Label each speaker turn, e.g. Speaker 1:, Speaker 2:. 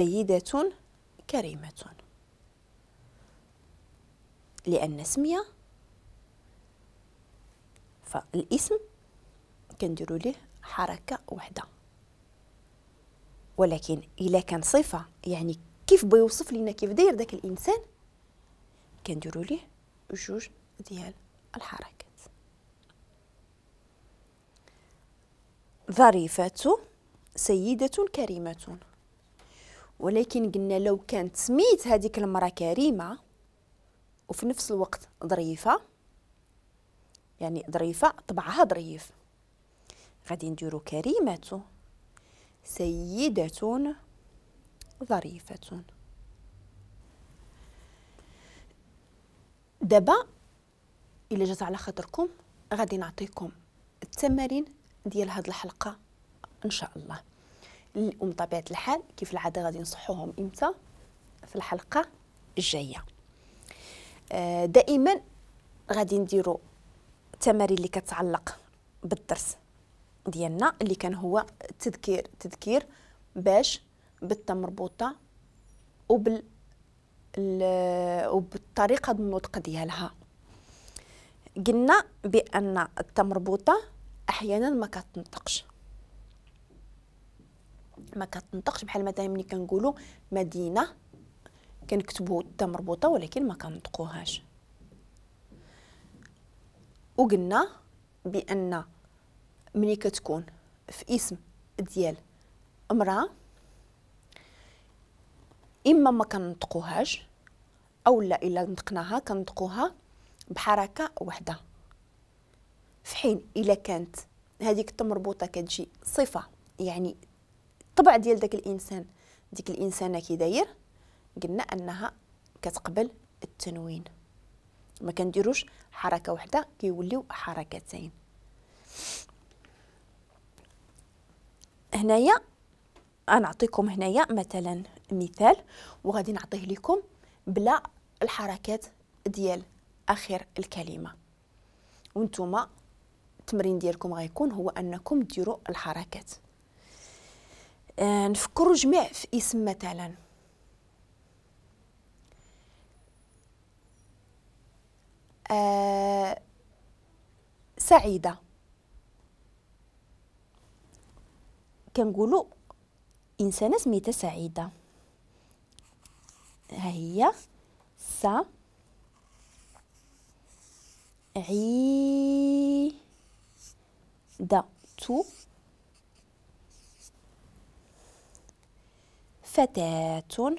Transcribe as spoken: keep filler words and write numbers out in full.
Speaker 1: سيدة كريمة، لأن سمية فالاسم كنديروا ليه حركة وحدة، ولكن إلا كان صفة يعني كيف بيوصف لنا كيف داير داك الإنسان كنديروا ليه جوج ديال الحركات. ظريفة سيدة كريمة، ولكن قلنا لو كانت سميت هذيك المرأة كريمة وفي نفس الوقت ظريفة، يعني ظريفة طبعها ظريف، غادي نديرو كريمة سيدة ظريفة. دابا إلا جات على خاطركم غادي نعطيكم التمارين ديال هاد الحلقة إن شاء الله، ومن طبيعة الحال كيف العادة غادي نصحوهم إمتى في الحلقة الجاية. دائما غادي نديرو التمارين اللي كتعلق بالدرس ديالنا اللي كان هو التذكير، تذكير باش بالتا مربوطة وبال وبالطريقة النطق ديالها. قلنا بأن التا مربوطة أحيانا ما كتنطقش، ما كتنطقش بحال مثلا ملي كنقولوا مدينة كنكتبوا التا مربوطة ولكن ما كنطقوهاش. وقلنا بأن ملي كتكون في اسم ديال امرأة إما ما كنطقوهاش أو لا إلا نطقناها كنطقوها بحركة وحدة، في حين إلا كانت هذيك التا مربوطة كتجي صفة يعني الطبع ديال داك الإنسان، ديك الإنسانة كي داير، قلنا أنها كتقبل التنوين، ما كنديروش حركة وحدة كيوليو حركتين. هنايا غنعطيكم هنايا مثلا مثال وغادي نعطيه لكم بلا الحركات ديال اخر الكلمة، وانتم التمرين ديالكم غيكون هو انكم ديروا الحركات. آه نفكروا جميع في اسم مثلا آه سعيدة، كنقولوا إنسانة سميتها سعيدة، ها هي س عي دا تو فتاة